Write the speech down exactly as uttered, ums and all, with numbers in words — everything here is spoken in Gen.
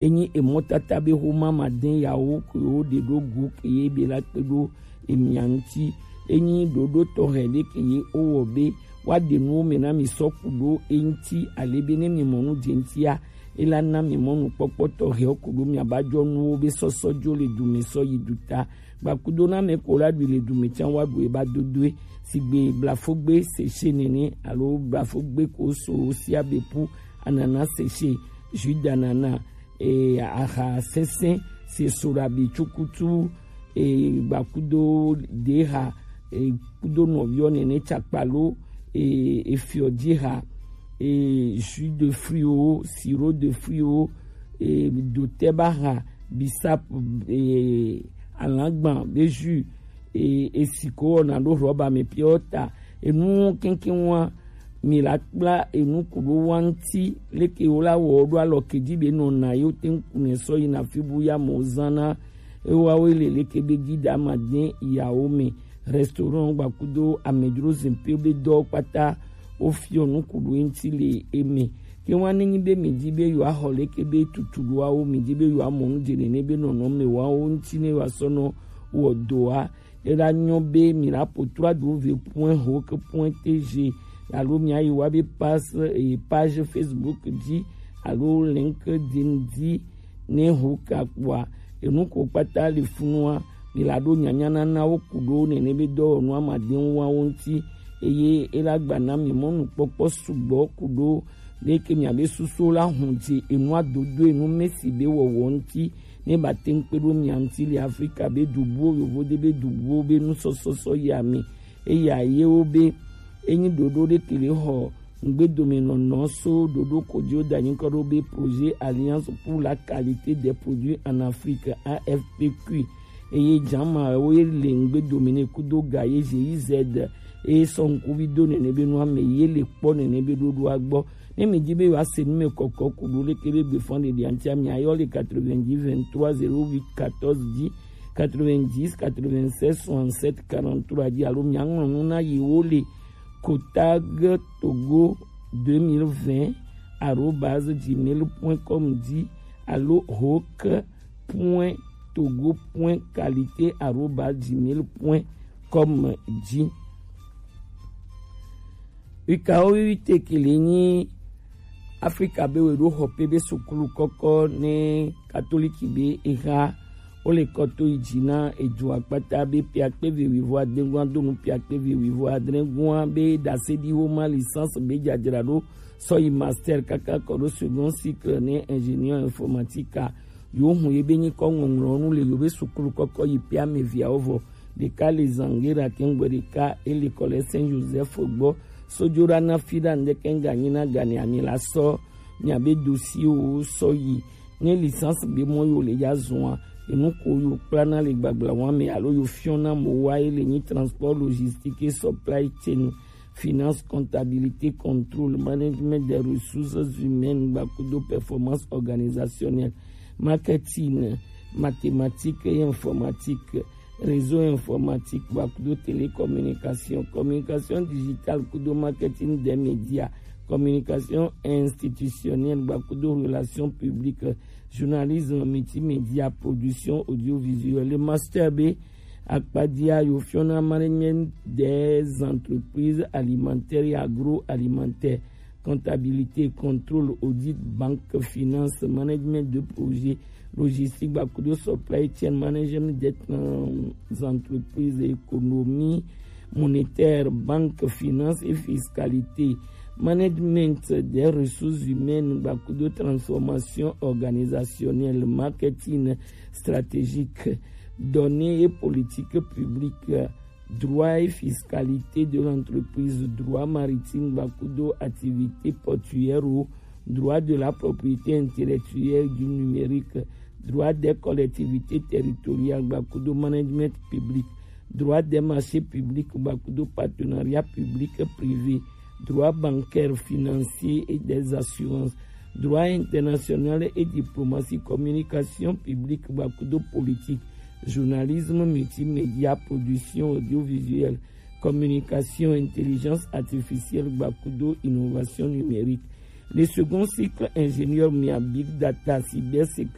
Enyi emɔtata be xoma madɛn yawo ke wo ɖe ɖo gu ke ye be la kpe ɖo emia ŋuti. Enyi ɖoɖo tɔxɛ ɖe ke ye wo wɔ be wa ɖe nuwo me na mi sɔ ku ɖo eŋuti, ale be ne mi mɔ nu dze ŋutia, ela na mi mɔ nukpɔkpɔ tɔxɛwo ku ɖo mi aba jɔ nuwo be sɔsɔ jo le du me sɔ yi du ta. Gbakudo na me ko la ɖui le du me tsan wa ɖu eba dodoe. Sigbe blafogbe sese nene alo blafogbe ko so sia be pu anana sese, jus d'ananas, e, aha sɛnsɛn, se soɖabi tsukutu, e, gbakudo deha, e, kudo nɔviɔ nene tsakpalo, e, efiɔ jeha, e, jus de fruit o, sirop de fruit o, e, dotɛbaha, bisap, e, alagban be jus, e, esi ko wɔna ɖo rɔba me piɔ ta, enu keŋkeŋ wa mi la kpla enu ku ɖo wa ŋuti, leke wo la wɔ ɖo alɔ ke dzi be nɔ na yewo te ŋu ku ne sɔ yi na fi bu ya mo zan na ewawo le leke be dzi da ma de yawo me. Restaurant gbakudo amedzro zimpe be dɔ kpata wo fiɔ nu ku ɖo ŋuti le eme. Ke wa ne nyi be mi dzi be yewo axɔ leke be tutu ɖoawo, mi dzi be yewo amɔ nu dze nene be nɔnɔ me wawo ŋuti ne yewo asɔ nɔ wɔ doa. Ela nyɔ be mi la po trois w point hoke point t g alo mi ayi wa be pas, eh, page Facebook dzi alo LinkedIn dzi ne hoke akpɔa. Enu ko kpata le funua, mi la ɖo nyanya nana wo ku ɖo nene be dɔwɔnu amadeŋu wa wo ŋuti, eye ela gba na mi mɔnukpɔkpɔ sugbɔ ku ɖo leke miabe susu la hun dze enua dodo enu mesi be wɔwɔ ŋuti ne ba te ŋu kpe ɖo mia ŋuti le Afrika be dubuwo yovo de be dubuwo be nusɔsɔsɔ yi ame. Eya yewo be enyi ɖoɖo ɖe ke le xɔ ŋgbedomenɔnɔ so ɖoɖo ko dzi wo da nyikɔ ɖo be Projet Alliance pour la Qualité des Produits en Afrique, A F P Q. Eye jama wo ye le ŋgbedomi ne kudo ga ye G I Z eye sɔ ŋkuvi do nene be nua me ye le kpɔ nene be ɖoɖoa gbɔ. Ne mi di be yewoa se nu me kɔkɔ ku ɖo leke be gbefɔn ɖeɖi aŋtia mi ayɔ le quatre-vingt-dix vingt-trois zéro huit quatorze dix, quatre-vingt-dix quatre-vingt-seize soixante-sept quarante-trois dzi alo mi aŋlɔ nu na yewo le kotag togo deux mille vingt arobase gmail point com dzi alo hoke point togo point qualité arobase gmail point com dzi. Wikawo wiwi te ke le nyi Afrika be we ɖo xɔ pe be sukulu kɔkɔ ne katoliki be eha wo le kɔto yi dzi na edu akpata be piakpe ve wivo adegua do nu piakpe ve wivo adregua be dase ɖi wo ma licence be dzadzra ɖo sɔ yi master kaka kɔ ɖo second cycle ne ingénieur informatique a. Yo hun ye be nyikɔ ŋɔŋlɔ nu le yo be sukulu kɔkɔ yi pe ame viawo vɔ. Ɖeka le Zangera kengbe ɖeka ele kɔ le Saint Joseph gbɔ. Sojo ɖa na fi ɖa ŋdeke ŋga nyi na gane ami la sɔ mia be dossier wo sɔ yi. Ne licence be mɔ yo le ya zua, enu ko yo kpla na le gbagla wa me alo yo fiɔ na mo wa ele nyi transport logistique et supply chain, finance, comptabilité, contrôle, management des ressources humaines, gbakudo performance organisationnelle, marketing, mathématiques et informatique, réseau informatique, gbakudo télécommunication, communication digitale, kudo marketing des médias, communication institutionnelle, gbakudo relations publiques, journalisme multimédia, production audiovisuelle, le master B, akpadia yo fiɔ na management des entreprises alimentaires et agroalimentaires, comptabilité, contrôle, audit, banque, finance, management de projet, logistique, gbakudo supply chain, management des entreprises, économie monétaire, banque, finance et fiscalité, management des ressources humaines, gbakudo transformation organisationnelle, marketing stratégique, données et politique publique, droit et fiscalité de l'entreprise, droit maritime, gbakudo activité portuaire, droit de la propriété intellectuelle du numérique, droit des collectivités territoriales, gbakudo management public, droit des marchés publics, gbakudo partenariat public privé, droit bancaire, financier et des assurances, droit international et diplomatie, communication publique, gbakudo politique, journalisme multimédia, production audiovisuelle, communication, intelligence artificielle, gbakudo innovation numérique. Le second cycle ingénieur mia big data cyber sécurité